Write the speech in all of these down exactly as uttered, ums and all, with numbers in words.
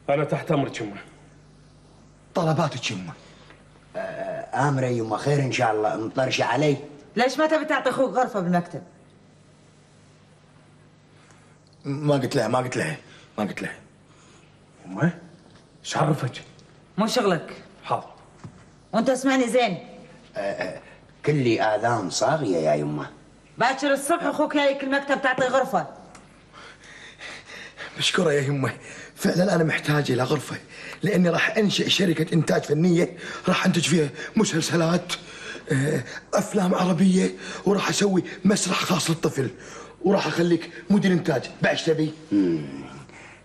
أنا تحت أمرك يمه. طلباتك يمه. آه آمرة يمه، خير إن شاء الله. مطرشة علي. ليش ما تبي تعطي أخوك غرفة بالمكتب؟ ما قلت لها ما قلت لها ما قلت لها. يمه ايش عرفك؟ مو شغلك. حاضر. وأنت اسمعني زين. آه آه كلي آذان صاغية يا يمه. باكر الصبح أخوك جايك المكتب تعطي غرفة. مشكورة يا يمه، فعلا أنا محتاج إلى غرفة لأني راح أنشئ شركة إنتاج فنية، راح أنتج فيها مسلسلات، أفلام عربية، وراح أسوي مسرح خاص للطفل، وراح أخليك مدير إنتاج. بعد تبي؟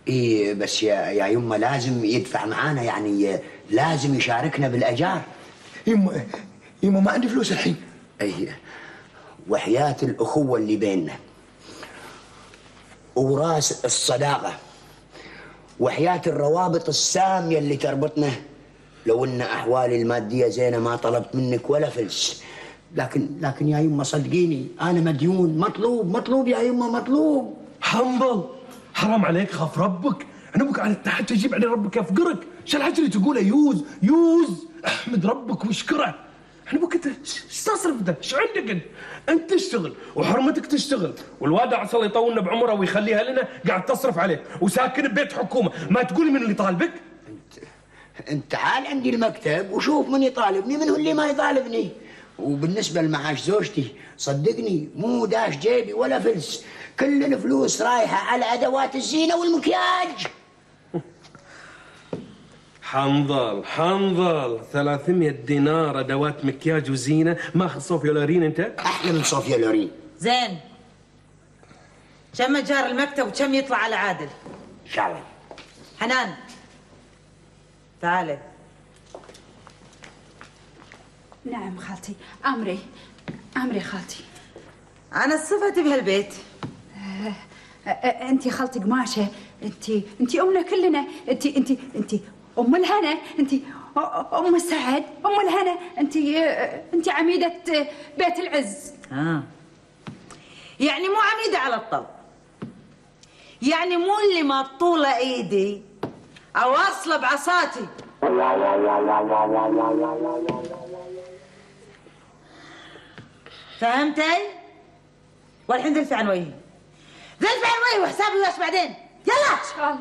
إيه بس يا يا يمه لازم يدفع معانا، يعني لازم يشاركنا بالأجار. يمه يمه ما عندي فلوس الحين. أي وحياة الأخوة اللي بيننا وراس الصداقة وحياة الروابط السامية اللي تربطنا، لو ان احوالي المادية زينة ما طلبت منك ولا فلس، لكن لكن يا يمه صدقيني انا مديون، مطلوب مطلوب يا يمه مطلوب. حنظل حرام عليك، خاف ربك. انا ابوك على تحت تجيب عليه ربك يفقرك. شو الحكي اللي تقوله؟ يوز يوز احمد ربك واشكره. احنا ابوك انت ايش تصرف ده؟ ايش عندك انت؟ انت تشتغل وحرمتك تشتغل، والواد عسى الله يطولنا بعمره ويخليها لنا قاعد تصرف عليه وساكن ببيت حكومه، ما تقولي من اللي طالبك؟ انت انت تعال عندي المكتب وشوف من يطالبني من هو اللي ما يطالبني. وبالنسبه لمعاش زوجتي صدقني مو داش جيبي ولا فلس، كل الفلوس رايحه على ادوات الزينه والمكياج. حنظل حنظل ثلاثمية دينار ادوات مكياج وزينه، ماخذ صوفيا لورين انت؟ احلى من صوفيا لورين. زين كم ايجار المكتب وكم يطلع على عادل؟ ان شاء الله. حنان تعالي. نعم خالتي. امري امري خالتي. انا صفتي بهالبيت. انت خالتي قماشه، انت انت امنا كلنا، انت انت انت ام الهنا، انت ام السعد، ام الهنا، انت انت عميده بيت العز. اه يعني مو عميده على الطب، يعني مو اللي ما طولة ايدي اوصله بعصاتي. فهمتي؟ والحين ذلفي عن وجهي، ذلفي عن وجهي وحسابي وياش بعدين. يلا ان شاء الله.